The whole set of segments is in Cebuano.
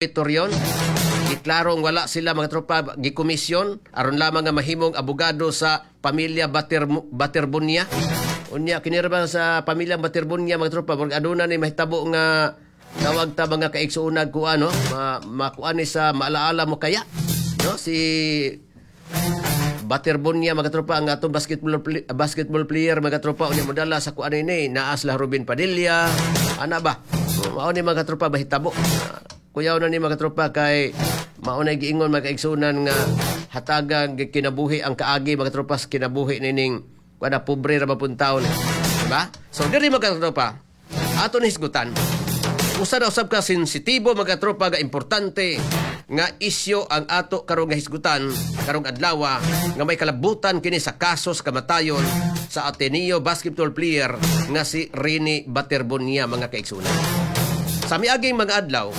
Torreon. Giklarong wala sila, mga tropa, gikomisyon aron lamang nga mahimong abogado sa pamilya Baterbonia. Unya kini ra ba sa pamilya Baterbonia, mga tropa, murag aduna ni mahitabo nga tawag ta, mga kaigsuonan, kuan, no, makuan ni sa maalaala mo kaya, no, si Baterbonia, mga tropa, ang atong basketball player, mga tropa. Unya modala sa kuan ini naa sila Ruben Padilla ana ba. Mao ni, mga tropa, mahitabo. Kuyaw na ni, mga tropa, kay mao na giingon, mga kaigsuonan, nga hatagang kinabuhi ang kaagi, mga tropa, sa kinabuhi nining kuan, pobre ra ba pun taon, diba? So diri, mga tropa, ato ni hisgutan usa na usab ka sensitibo, mga tropa, nga importante nga isyo ang ato karong nga hisgutan karong adlaw nga may kalabutan kini sa kaso sa kamatayon sa Ateneo basketball player nga si Rene Baterbonia, mga kaigsunan. Sa miaging mga adlaw,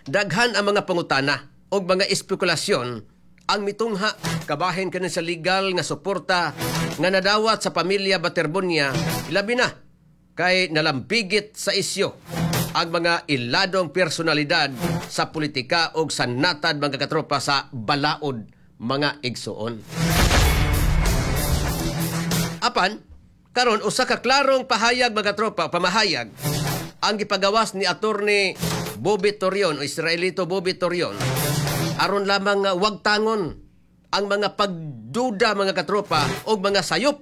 daghan ang mga pangutana o mga espekulasyon ang mitungha kabahin kini sa legal nga suporta nga nadawat sa pamilya Baterbonia, labi na kay nalampigit sa isyo ang mga iladong personalidad sa politika o sa natad, mga katropa, sa balaod, mga igsuon. Apan, karon usa ka klarong pahayag, mga tropa, pamahayag ang gipagawas ni Attorney Bobby Torion o Israelito Bobby Torion aron lamang nga wag tangon ang mga pagduda, mga katropa, o mga sayop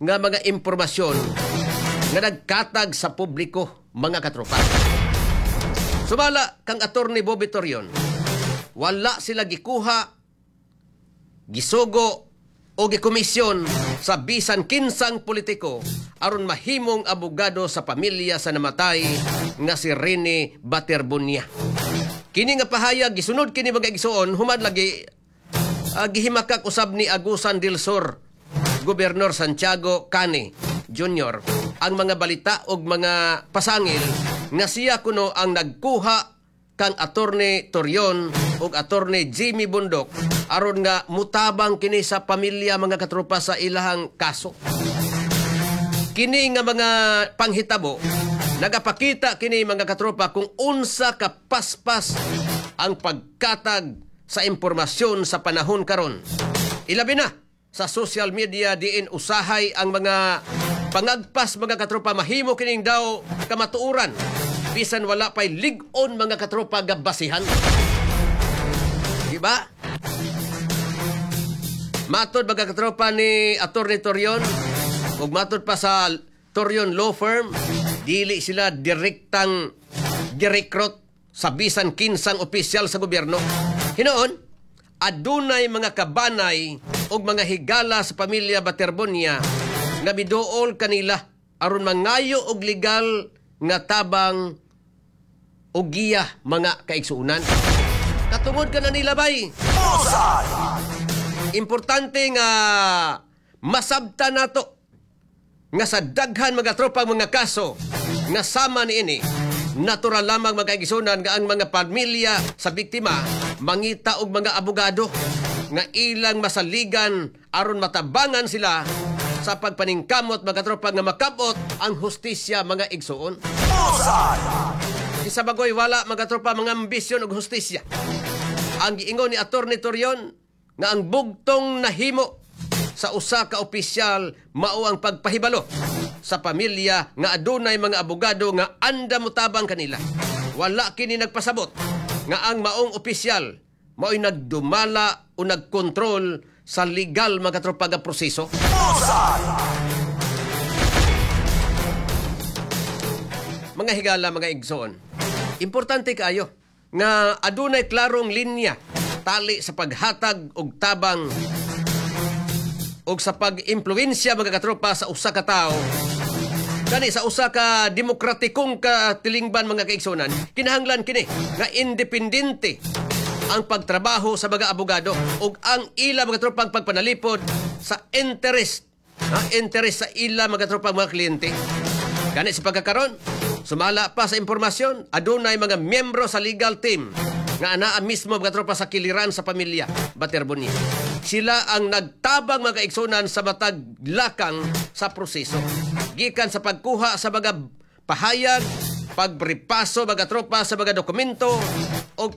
nga mga impormasyon nga nagkatag sa publiko, mga katropa. Sumala kang Attorney Bobby Torion, wala sila gikuha, gisugo o gikomisyon sa bisan kinsang politiko aron mahimong abogado sa pamilya sa namatay nga si Rene Baterbonia. Kini nga pahayag gisunod kini, mga igsuon, human lagi gihimakak usab ni Agusan del Sur Gobernador Santiago Cane Jr. ang mga balita og mga pasangil nga siya kuno ang nagkuha kang Attorney Torion ug Attorney Jimmy Bundok aron nga mutabang kini sa pamilya, mga katropa, sa ilahang kaso. Kini nga mga panghitabo nagapakita kini, mga katropa, kung unsa ka paspas ang pagkatag sa impormasyon sa panahon karon. Ilabi na sa social media diin usahay ang mga pangagpas, mga katropa, mahimo kining daw kamatuoran bisan wala pay lig-on, mga katropa, gabasihan. Di ba? Matod, mga katropa, ni Attorney Torion ug matod pa sa Torion Law Firm, dili sila direktang girecruit sa bisan kinsang opisyal sa gobyerno. Hinoon, adunay mga kabanay ug mga higala sa pamilya Baterbonia nga miduol kanila aron mangayo og legal nga tabang og giya, mga kaigsuonan. Katungod ka na nila bay. Importante nga masabta nato nga sa daghan, mga tropang, mga kaso nga sama niini, natural lamang, mga kaigsuonan, nga ang mga pamilya sa biktima mangita og mga abogado nga ilang masaligan aron matabangan sila sa pagpaningkamot, mga tropa, nga makabot ang hustisya, mga igsuon. Isa bagoy wala, mga tropa, mga ambisyon og hustisya. Ang giingon ni Attorney Torion nga ang bugtong nahimo sa usa ka opisyal mao ang pagpahibalo sa pamilya nga adunay mga abogado nga anda motabang kanila. Wala kini nagpasabot nga ang maong opisyal mao'y nagdumala o nagkontrol sa legal, mga tropa, nga proseso. Mga higala, mga igsoon, importante kaayo nga adunay klarong linya tali sa paghatag og tabang og sa pag-impluwensya, mga katropa, sa usa ka tawo. Kani sa usa ka demokratikong katilingban, mga kaigsunan, kinahanglan kini nga independente ang pagtrabaho sa mga abogado ug ang ila, mga tropang, pagpanalipod sa interest, ha, interest sa ila, mga tropang, mga kliyente. Gani sa pagkakaron, sumala pa sa impormasyon, adunay mga miyembro sa legal team nga anaa mismo, mga tropa, sa kiliran sa pamilya Baterbonia. Sila ang nagtabang, mga kaigsunan, sa matag lakang sa proseso. Gikan sa pagkuha sa mga pahayag Pagripaso, mga tropa, sa mga dokumento o